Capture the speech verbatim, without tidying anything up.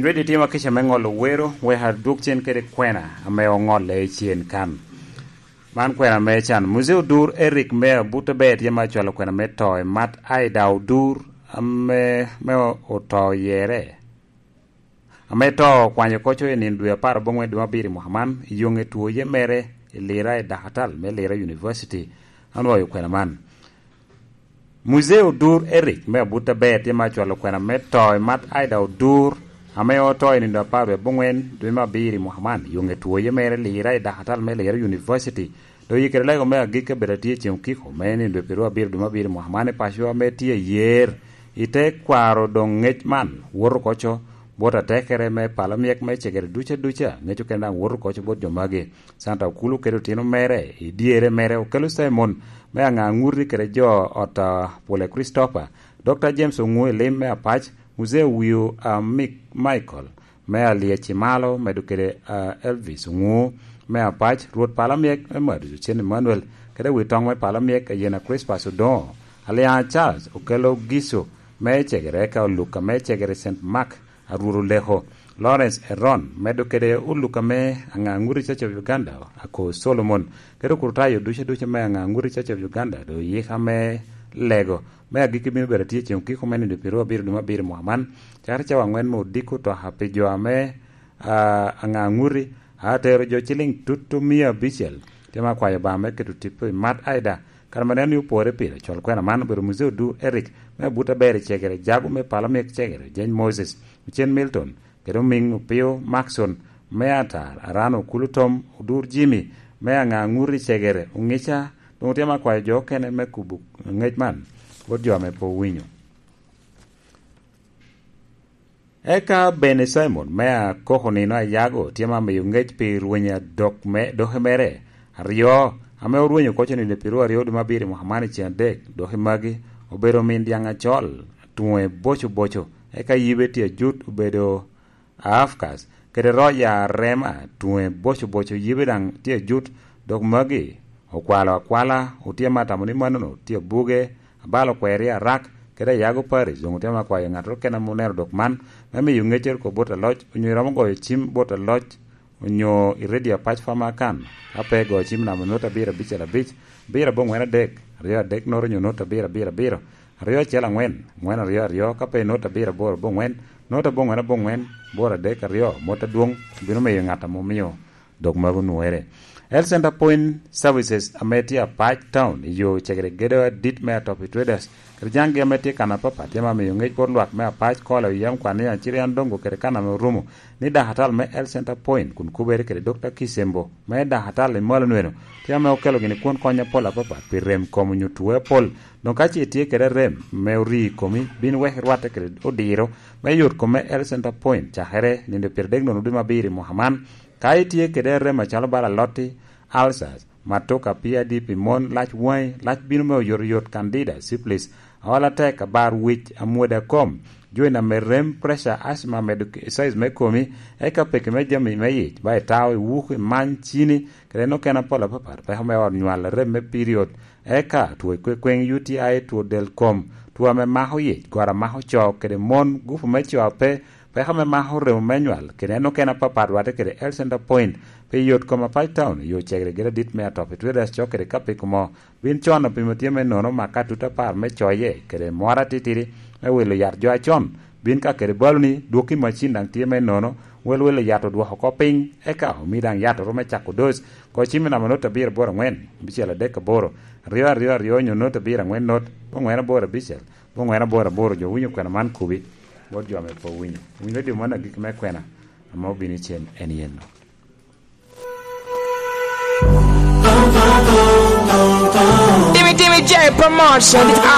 Redi timo kica me ŋolo wero, wek adwog cen kede kwena ame oŋolle i cen kan. Man kwena me can. Muzee Odur Eric me Abuta Ber tye ma acwalo kwena me to i Mat Aida Odur ame, me oto yere. Ame to okwanyo koco i nino dwe apar aboŋwen dwe me abiro i mwaka man, i yoŋe two ye mere i Lira i Dakatal me Lira University. Anwoyo kwena man. Muzee Odur Eric me Abuta Ber tye ma acwalo kwena me to i Mat Aida Odur, ame oto i nino apar dwe aboŋwen dwe me abiro i mwaka man, yoŋe two ye mere Lira i Dakatal me Lira University. Dok i kede lego me agikki abedo atye i cen okiko me nino dwe pyeraryo abiro dwe me abiro i mwaka man i paco ame tye ayer. I te kwaro doŋ ŋec man, woto koco bot atekere me pala myek me cegere duca duca, ŋec okene daŋ woto koco bot jo magi. Santa Okulu kede otino mere, i dyere mere Okelo Simon me Aŋaŋuti kede jo ot a Pule Christopher, Dokta James Oŋu i lim me Apac, Muzee Owio a Mik-, Michael me Alyec i Malo, medo kede, a, Elvis Oŋu me Apac, Rwot pala myek me Madu Cen Emmanuel, kede wi toŋ me pala myek Ayena Crispas Odoŋo, Alyaŋa Charles Okelo Giso me Cegere, eka Oluka me Cegere Saint Mark, Arwot Oleko, Lawrence Eron, medo kede Oluka me Aŋaŋuti Church of Uganda, Ako Solomon, kede okurutayo ducu ducu me Aŋaŋuti Church of Uganda, doŋ yika me lego me agikki bino bedo atye i cen okiko me nino pyeraryo abiro dwe me abiro i mwaka man, cakere cawa aŋwen me odiko toka pi jo ame, a, Aŋaŋuti, a tero jo ciliŋ tutu mia abicel. Tye ma akwayo Obaŋa me keto tipo i Mat Aida, kare ma neno ni opore pire, col kwena man obedo Muzee Odur Eric me Abuta Ber i Cegere, Jago me pala myek Cegere, Jeny Moses, Ocen Milton, kede Omiŋ Opio Maxon me Atar, Arano Okulu Tom, Odur Jimmy me Aŋaŋuti Cegere, Oŋica, doŋ otye ma akwayo jo okene me kubo ŋec man bot jo ame pe owinyo. Eka Bene Simon me Akoko Nino Ayago tye ma miyo ŋec pi rweny adok me, doki mere aryo, ame orwenyo koco nino pyeraryo dwe me abiro i mwaka man i cen adek. Doki magi obedo omin dyaŋ acol, tuŋe boco boco, eka yibe tye ajut obedo Aafkas, kede Roja Rema, tuŋe boco boco, yibe daŋ tye ajut. Dok magi okwalo akwala, otye ma atamo ni manono tye abuge, abalo kweri arak, kede ayago Paris. Doŋ otye ma akwayo ŋattoro kene ame oneno dok man, me miyo ŋeccere kop bot aloc, onyo iromo goyo cim bot aloc, onyo i redio apac Famakan, ka pe igoyo cim namba nota abiro abicel abic, abiro aboŋwen adek, aryo adek noto onyo nota abiro abiro abiro, aryo acel aŋwen, aŋwen aryo aryo, ka pe nota abiro aboro aboŋwen, nota aboŋwen aboŋwen, aboro adek aryo, mot adwoŋ obino miyo ŋat ame omio dok mago onwoŋere. Health Center Point Services ame tye Apac Town i yo cegere gedo adit me Atopi Traders, kede jaŋgi ame tye kan apapat, tye ma miyo ŋec bot lwak me Apac, Kola, Oyam, Kwania, Acirian, Dongo kede kan ame orumo, ni dakatal me Health Center Point kun kubere kede Dokta Kisembo me dakatal i malo nweno, tye ame okelo gini kwon kony apol apapat pi rem kom onyo tuwe apol. Doŋ ka ce itye kede rem me ori i komi, bin wek irwatte kede odiro me yot kom me Health Center Point, cakere nino pyeradek nono dwe me abiro i mwaka man. Ka itye kede rem acalo bala alotti, ulcers, matuka, P I D pi mon, lac waŋi, lac bino me oyotoyot, candida, syphilis, aol atek, abar wic, amwoda kom, joint ame rem, pressure, asthma, medo ke-, size me komi, eka peke me jami me yic, ba itao, iwuko, imany, cini, kede en okene apol apapat, peko me ot nywal, rem me period, eka two kwekweŋ, U T I, two del kom, two ame mako yic, goro amako co kede mon, gupu me co ape, peko me mako remo me nywal, kede en okene apapat rwatte kede Health Center Point, pi yot kom Apac Town, yo cegere gedo adit me Atopi Traders cok kede Kapiko mo, bin con opimo tye me nono maka tut apar me coye, kede moro atitidi me wilo yat jo acon, bin ka kede baloni, dwokki macin daŋ tye me nono, wel wilo yat odwoko oko piny, eka omi daŋ yat oro me cako doc, ko cim i namba not abiro aboro aŋwen, abicel adek aboro, aryo aryo aryo onyo not abiro aŋwen not, boŋwen aboro abicel, boŋwen aboro aboro, jo winyo kwena man kubi, bot jo ame pe owinyo. Winy redio man agikki me kwena, ame obino i cen en yen no. Timmy, Timmy J Promotion.